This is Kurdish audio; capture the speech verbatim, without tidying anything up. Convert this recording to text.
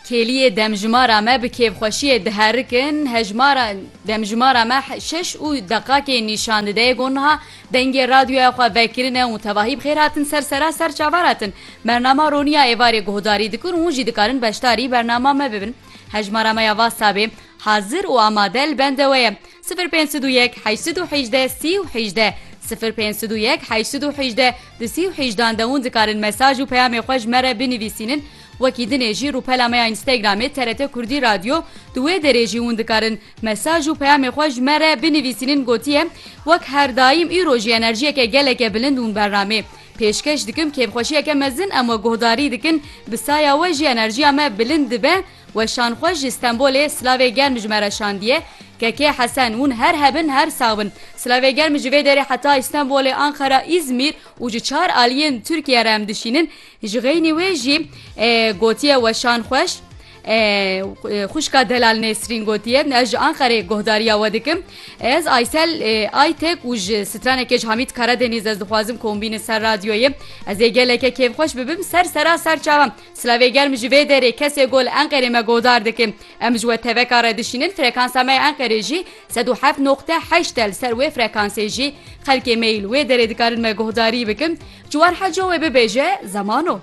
Kêliyê demjimara me bi kêfxweşiyê diherikin. Hejmara demjimara me şeş û deqakê nîşan dide. Yê ku niha dengê radyoya xwe vekirine û tevahî bi xêr hatin ser sera ser çava hatin. Bernama Roniya êvarê guhdarî dikin û hûn jî dikarin beşdarî bernama me bibin. Hejmara me ya WhatsAppê hazir û amade li bende we ye. Sifir pênc sed û yek, heşt sed û hejdeh, sî û hejdeh, sifir pênc sed û yek, heşt sed û hejdeh, du sî û hejdan de hûn dikarin mesaj û peyamê xwe ji me re binivîsînin. Wekî dinê jî rûpela me ya Instagramê T R T Kurdî Radyo, di wê derê jî hûn dikarin mesaj û peyamê xwe ji me re binivîsînin. Gotiye, wek her daîm îro jî enerjiyeke geleke bilind hûn bernamê pêşkeş dikim, kêfxweşiyeke mezin em we guhdarî dikin, bi saya we jî enerjiya me bilind dibe. Weşan xweş ji Stenbolê silavê germ ji me re şandiye. Kekê Hesen, hûn her hebin, her sax bin. Silavê germ ji vê derê heta Stenbolê, Anqara, Îzmîr û ji çar aliyên Tirkiye re em dişînin. Ji xeynî wê jî, e, gotiye weşan xweş. E, e, xwişka delal Nesrîn gotiye, ez ji Anqerê guhdariya we dikim. Ez Aysel, e, Aytek û ji stranekê ji Hamîd Karadeniz ez dixwazim ku hûn bînin ser radyoyê. Ez ê geleke kêfxweş bibim ser sera ser çavan. Silavê germ ji vê derê kesê ku li Enqerê me guhdar dikin. Em ji we teveka re dişînin, frekansa me ya Enqerê jî sed û heft noqte heşt e, li ser wê frekansê jî xelkê me yî li wê derê dikarin me guhdarî bikin. Ciwan Heco wê bibêje, Zemano.